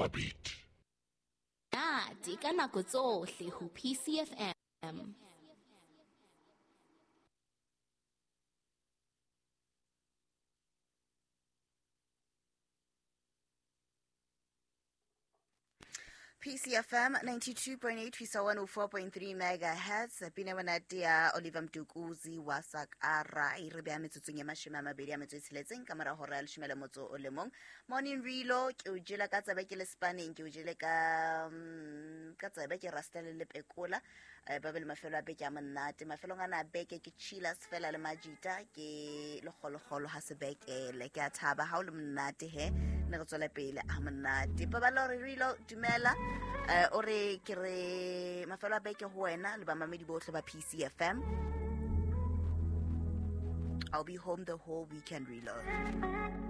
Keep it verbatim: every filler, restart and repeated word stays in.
Power Beat. Nate ka nako tsohle ho P C F M. P C F M ninety-two point eight fisa one oh four point three megahertz. Pina monate ya Oliver Mtukudzi wa Sakara e re beha metsotsong e mashome a mabedi a metso e tsheletseng ka mora hora ya leshome le motso o le mong. Morning Relo, ke o jela ka tsebe ke le spaneng, ke o jele ka mm, ka tsebe ke rasta le lepekola. eh, ba be le mafelo a beke a monate. Mafelong ana a beke ke chillas fela le majita ke lekgolokgolo ha sebekele. Ke a thaba ha o le monate he ne re tswela pele a monate. Paballo re Relo, dumela. eh o re ke re mafelo a beke ho wena le bamamedi bohle ba P C F M. I'll be home the whole weekend, Relo.